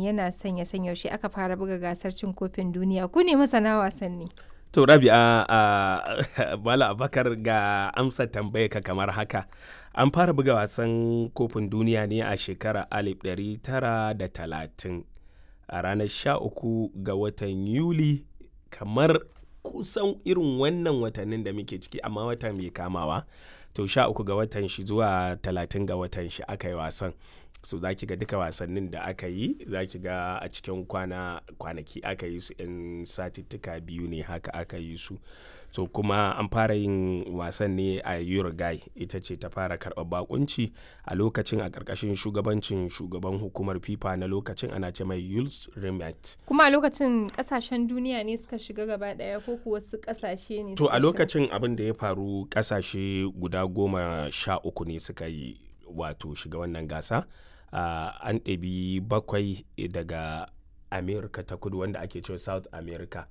yana son ya san yaushe aka fara buga gasar cin kofin duniya. Ku ne masana wasanni. To Rabi'a, Bala Abakar, ga amsa tambaya ka kamar haka. An fara buga wasan kofin duniya ne a shekarar 1930 a ranar 13 ga watan Yuli, kamar kusan irin wannan watannin da muke ciki, amma wata mai kamawa. To 13 ga watan shi zuwa 30 ga watan shi aka yi wasan. So za ki ga duka wasannin da aka yi, za ki ga a cikin kwana kwanaki aka yi su, 'yan satittuka 2 ne haka aka yi su. So kuma an fara yin wasan ne a Uruguay, ita ce ta fara karɓar bakunci a lokacin, a ƙarƙashin shugabancin shugaban hukumar FIFA na lokacin, ana ce mai Jules Rimet. Kuma a lokacin kasashen duniya ne suka shiga gaba ɗaya ko kuwa wasu kasashe ne To suka a shiga? lokacin abin da ya faru, ƙasashe guda 13 ne suka yi, wato shiga wannan gasa. An ɗabi bakwai daga America ta Kudu, wanda ake cewa South America.